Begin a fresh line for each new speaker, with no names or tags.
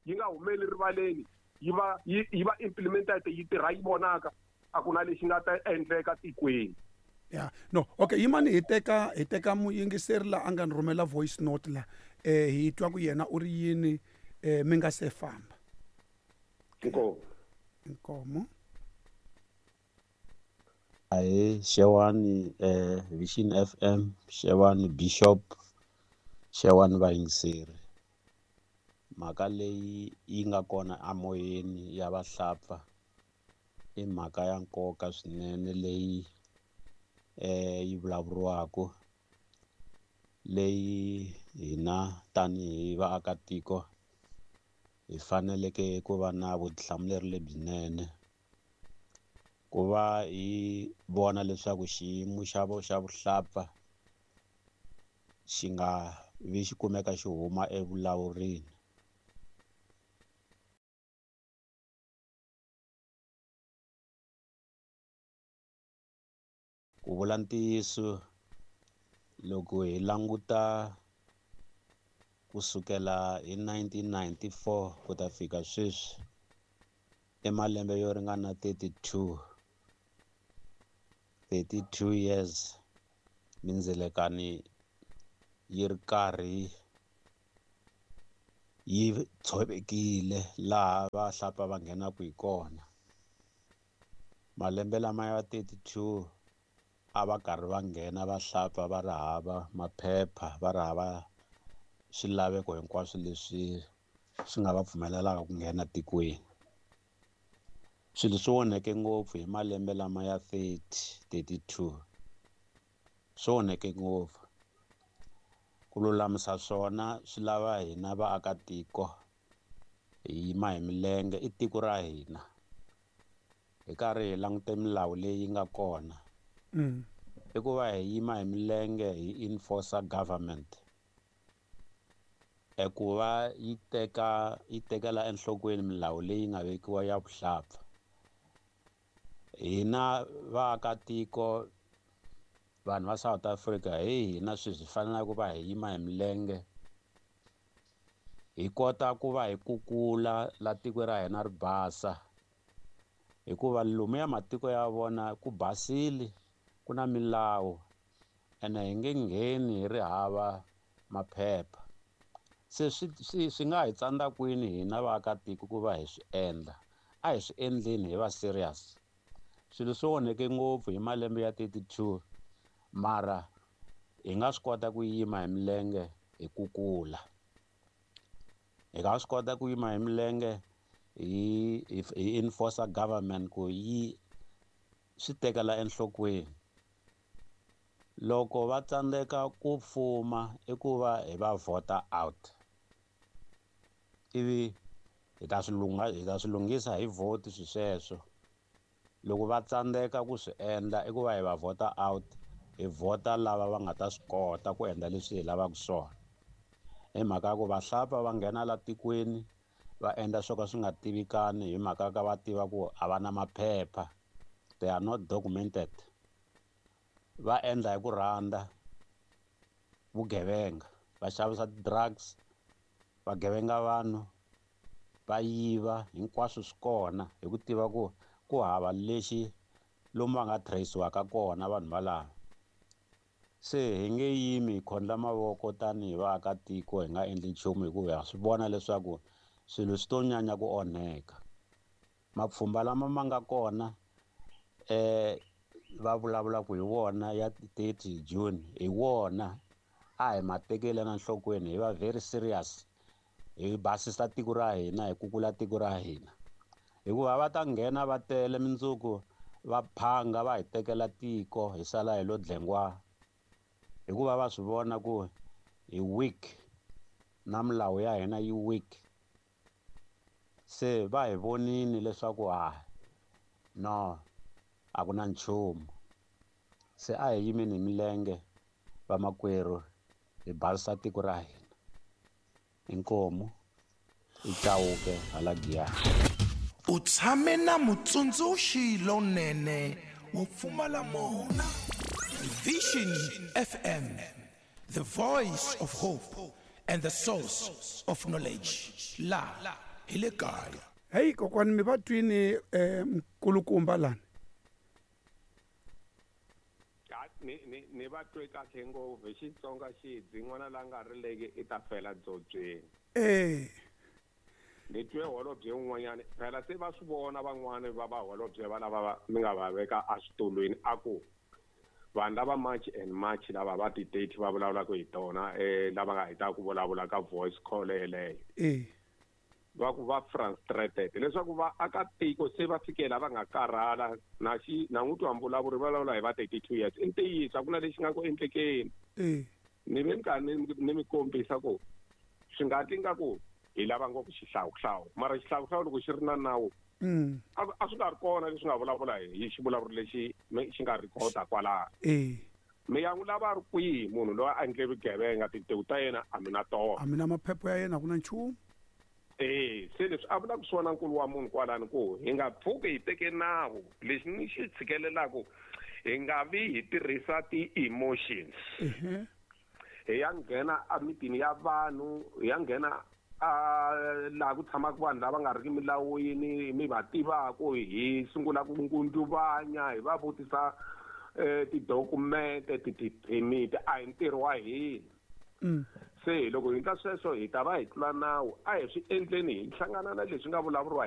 Yi nga humeli rivaleni yi va yi va implemented yi tirha yi vonaka a ku na lexi nga ta endleka tikweni.
Ya no okay yimani hi teka hi teka muyingiseri la a nga ni rhumela voice note la hi twa ku yena u ri yini mi nga se famba.
Inkomu.
Inkomu.
Ahee xewani Vision FM, xewani Bishop, xewani vayingiseri. Mhaka leyi yi nga kona amoyeni ya vahlapfa i mhaka ya nkoka swinene leyi yi vulavuriwaka, leyi hina tanihi vaakatiko hi faneleke ku va na vutihlamuleri lebyinene ku va hi vona leswaku xiyimo xa xa vuhlapfa xi nga vi xi kumeka xi huma evulawurini. Ku vula ntiyiso loko hi languta kusukela hi 1994 ku ta fika sweswi i malembe yo ringana 32 years mindzilekani yi ri karhi yi tshovekile laha vahlapfa va nghenaka hi kona. Malembe lama ya 32 a va karhi va nghena vahlapfa va ri hava maphepha, va ri hava swilaveko hinkwaswo leswi swi nga va pfumelelaka ku nghena tikweni. Swilo swi onheke ngopfu hi malembe lama ya 30, 32 swi onheke ngopfu. Ku lulamisa swona swi lava hina vaakatiko hi yima hi milenge, i tiko ra hina hi karhi hi langute milawu leyi nga kona. I ku va hi yima hi milenge hi enforce government ku va yi teka yi tekela enhlokweni milawu leyi nga vekiwa ya vuhlapfa. Hina vaakatiko vanhu va South Africa hi hina sweswi hi faneleke ku va hi yima hi milenge hi kota ku va hi kukula la tiko ra hina ri basa, hikuva lomuya matiko ya vona ku basile, ku na milawu ene hi nge ngheni hi ri hava maphepha. Se swi nga hi tsandza kwini hina vaakatiko ku va hi swi endla? A hi swi endleni hi va serious. Swilo swi onheke ngopfu hi malembe ya 32 mara hi nga swi kota ku yima hi milenge hi kukula. Hi nga swi kota ku yima hi milenge hi enforce government ku yi swi tekela enhlokweni. Loko va tsandzeka ku fuma i ku va hi va vhota out, ivi hi ta swi lungha hi ta swi lunghisa hi vote swi sweswo. Loko va tsandzeka ku swi endla i ku va hi va vhota out, hi vhota lava va nga ta swi kota ku endla leswi hi lavaka swona. Hi mhaka ya ku vahlapfa va nghena la tikweni va endla swo ka swi nga tivikani hi mhaka ka va tiva ku a va na maphepha, they are not documented. Va endla hi ku rhandza vugevenga, va xavisa ti-drugs, va gevenga vanhu, va yiva, hinkwaswo swi kona hi ku tiva ku ku hava lexi lomu va nga trace-iwaka kona vanhu valava. Se hi nge yimi hi khondla mavoko tanihi vaakatiko hi nga endli nchumu, hikuva ha swi vona leswaku swilo swi to nyanya ku onheka. Mapfhumba lama ma nga kona va vulavulaka hi wona ya 30 June hi wona a hi ma tekeli na nhlokweni, hi va very serious, hi basisa tiko ra hina, hi kukula tiko ra hina. Hikuva va ta nghena va tele mundzuku va phanga va hi tekela tiko hi sala hi lo dlengwa, hikuva va swi vona ku hi weak na milawu ya hina yi weak. Se va hi vonini leswaku no a ku na nchumu. Se a hi yimeni hi milenge vamakwerhu hi basisa tiko ra hina. Inkomu i Chauke hala Giyani.
U tshame na mutsundzuxi lonene wo pfumala mona. Vision FM, the voice of hope and the source of knowledge. La hi le kaya.
Heyi kokwani, mi va twini nkulukumba lani?
Ni va twe kahle ngopfu. Hi Xitsonga xidzi, n'wana la nga rileki i ta fela dzobyeni. Ni twe holobye un'wanyana, phela se va swi vona van'wani va va holobye va lava mi nga va veka eswitulwini, a ku vanhu lava March and March lava va ti-date va vulavulaka hi tona, lava nga heta ku vulavula ka voice call yeleyo, va ku va frustrated leswaku va akatiko se va fikela va nga karhala na xi na n'wi twa mvulavuri vulavula hi va 32 years. I ntiyiso, a ku na lexi nga ku endlekeni. Ni ve ni karhi ni mi kombisa ku swi nga ti nga ku hi lava ngopfu xihlawuhlawu, mara xihlawuhlawu loko xi ri na nawu, a swi nga ri kona leswi nga vulavula hi xivulavuri lexi xi nga rhikhoda kwalaho. Mi ya n'wi lava ri kwihi munhu loyi a endle vugevenga? Tintiho ta yena a mi na tona.
A mi na maphepha ya yena, a ku na nchumu.
Se leswi a vulaka swona nkulu wa munhu kwalani, ku hi nga pfuki hi teke nawu, lexi ni xi tshikelelaku, hi nga vi hi tirhisa ti-emotions, hi ya nghena emitini ya vanhu, hi ya nghena a laha ku tshamaka vanhu lava nga riki milawini mi va tivaku, hi sungula ku ngunduvanya, hi va vutisa tidokumente, ti-permit. A hi ntirho wa hina. Se loko hi endla sweswo, hi ta va hi tlula nawu. A hi swi endleni hi hlangana na leswi nga vulavuriwa.